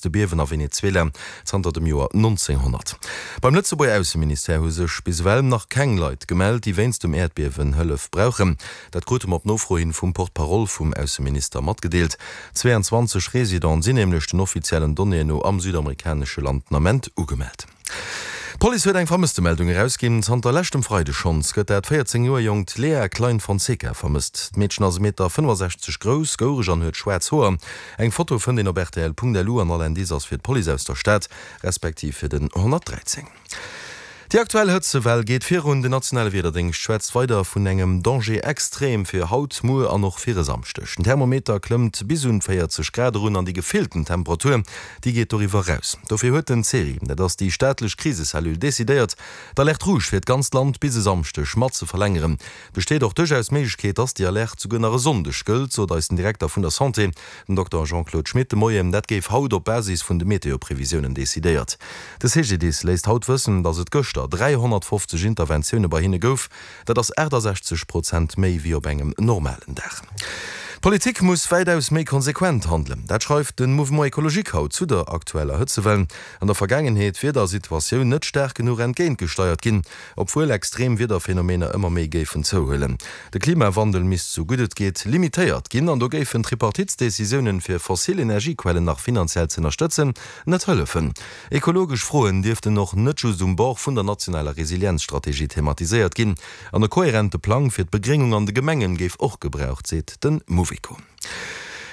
stäerkste Biewen a Venezuela zanter dem Joer 1900. Beim Lëtzebuerger Ausseministère hu sech bis ewell nach keng Leit gemellt, déi wéinst dem Äerdbiewen Hëllef brauchen. Dat krute mer op Nofro hin vum Porte-parole vum Ausseminister matgedeelt. 22 Residenten sinn nämlech den offiziellen Donnéeën no am südamerikanesche Land den Ament ugemellt. D'Police huet eng Vermësstemeldung erausginn. Zanter leschtem Freide schonns gëtt dat 14 Joer jonkt Lea Klein Fonseca vermësst. D'Meedchen ass e Meter 65 grouss, goureg an huet schwaarz Hoer. Eng Foto fënnt een op rtl.lu an all Indice ass fir d'Police aus der Stad, respektiv fir den 113. Déi aktuell Hëtzewell geet virun. Den nationale Wiederdéngscht schwätzt weider vun engem Danger extrême fir haut, muer an och fir e Samschdeg. Den Thermometer klëmmt bis un 40 Grad erun an déi gefillten Temperatur, déi geet doriwwer eraus. Dofir huet den CERI, dat ass déi staatlech Krisecellule, decidéiert, d'Alerte rouge fir d'ganzt Land bis e Samschdeg mat ze verlängeren. Et besteet och duerchaus d'Méiglechkeet, dass déi Alerte souguer nach e Sonndeg gëllt, sot eis den Direkter vun der Santé, Den Dokter Jean-Claude Schmit de Moien, dat géif haut op Basis vun de Meteo-Previsiounen decidéiert. De CGDIS léisst haut wëssen, datt et gëschter 350 Interventioune bei hinne gouf. Dat ass 68 Prozent méi wéi op engem normalen Dag. D'Politik muss wäitaus méi konsequent handelen. Dat schreift de Mouvement Ecologique haut zu der aktueller Hëtzewell. An der Vergaangenheet wier der Situatioun net staark genuch entgéintgesteiert ginn. Obwuel extrem Wiederphenomener ëmmer méi géifen zouhuelen. De Klimawandel misst sou gutt et geet limitéiert ginn an do géifen Tripartitsdecisiounen, fir fossil Energiequellen nach finanziell z'ënnerstëtzen, net hëllefen. Ekologesch Froen dierften och net just um Bord vun der nationaler Resilienzstrategie thematiséiert ginn an e koherente Plang fir d'Begréngung an de Gemengen géif och gebraucht, seet de Mouveco.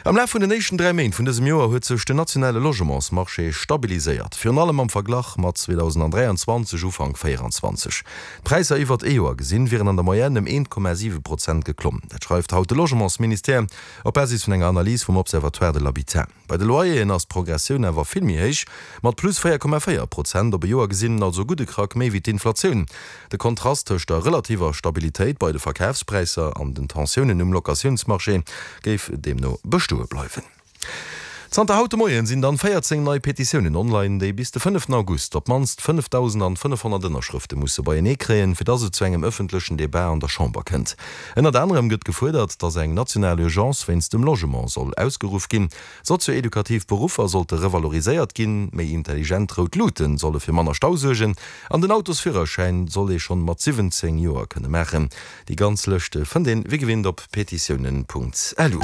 Am Laf vun den éischten 3 Méint vun dësem Joer huet sech den nationale Logementsmarché stabiliséiert, virun allem am Verglach mat 2023, Ufank 24. D'Präisser iwwert ee Joer gesinn wieren an der Moyenne ëm 1,7 Prozent geklomm. Dat schreift haut de Logementsministère op Basis vun enger Analys vum Observatoire de l'habitat. Bei de Loyeren ass d'Progressioun awer vill méi héich, mat plus 4,4 Prozent op e Joer gesinn, also e gudde Krack méi wéi d'Inflatioun. De Kontrast tëscht der relativer Stabilitéit bei de Verkafspräisser an den Tensiounen um Locatiounsmarché géif deemno bestoe bleiwen. Zanter haut de Moien sinn dann 14 nei Petitiounen online, déi bis de fënneften August op d'mannst 5.500 Ënnerschrëfte musse beienee kréien, fir dass et zu engem ëffentlechen Debat an der Chamber kënnt. Ënnert anerem gëtt gefuerdert, datt eng national Urgence wéinst dem Logement soll ausgeruff ginn, sozio-edukativ Beruffer sollte revaloriséiert ginn, méi intelligent rout Luute solle fir manner Stau suergen an den Autosführerschäin soll ee schonn mat 17 Joer kënne maachen. Déi ganz Lëscht fënnt een wéi gewinnt op petitiounen.lu.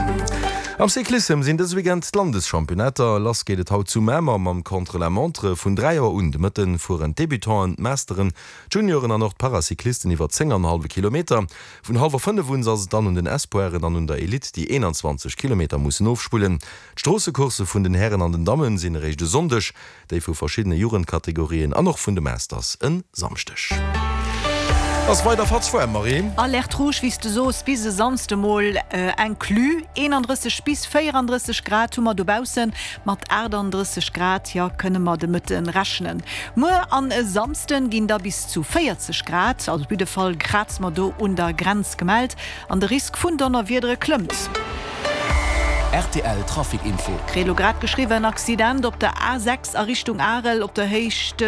Am Cyclissem sinn dëse Weekend d'Landeschampionnater. Lass geet et haut zu Mamer mam Contre-la-montre. Vun 3 Auer un de Mëtten fueren d'Debutanten, d'Masteren, D'Junioren an och d'Paracyclisten iwwer 10 an e hallwe Kilometer. Vun hallwer 5 un ass et dann un den Espoiren an un der Elite, déi 21 Kilometer mussen ofspullen. D'Stroossecoursse vun den Hären an den Dammen sinn eréischt e Sonndeg, déi vu verschiddene Jugendkategorien an och vun de Masters en Samschdeg. Ass weider fatz waarm, Marie? Alerte rouge, wéi s de soos, bis e Samsde mol inclus. 31 bis 34 Grad hu mer dobaussen. Mat 38 Grad, jo, kënne mer de Mëtte rechnen. Muer an e Samsden ginn da bis zu 40 Grad, also op jidde Fall kraze mer do un der Grenz, gemellt an de Risk vun Donnerwiedere klëmmt. Rtl Trafic Info. Kritt elo grad geschriwwen, Accident op der A6 a Richtung Arel op der Héicht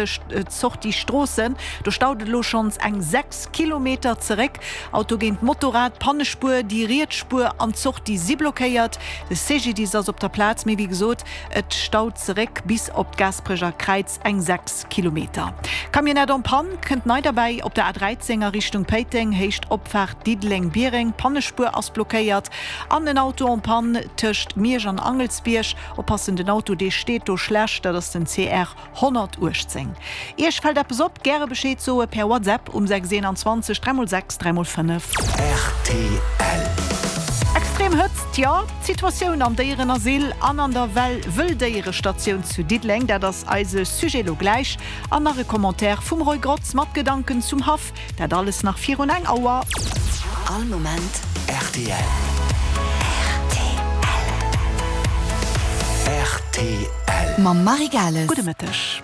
Sortie Stroossen. Do staut et elo schonns eng 6 Kilometer zeréck. Auto géint Motorrad, Pannespuer, déi riets Spuer an d'Sortie si blockéiert. De CGDIS ass op der Plaz, mee wéi gesot, et staut zeréck bis op d'Gaasperecher Kräiz, eng 6 Kilometer. Camionnette en panne kënnt nei derbäi op der A13 a Richtung Péiteng, Héicht Opfaart Diddeleng-Biereng, Pannespuer ass blockéiert. An en Auto en panne tëscht Miersch an Angelsbierg. Oppassen, den Auto dee steet do schlecht, dat ass den CR 118. Iech fält eppes op? Gäre Bescheed soe per WhatsApp um 6 21 3 x 6 3 x 5. Rtl. Extrem Hëtzt, jo, d'Situatioun am Déierenasyl an an der Well Wëlldéierestatioun zu Diddeleng, dat ass eise Sujet lo gläich. An nach e Commentaire vum Roy Grotz mat Gedanken zum Haff. Dat alles nach virun eng Auer. All Moment rtl. Rtl. Mam Marie Gales. Gudde Mëtteg.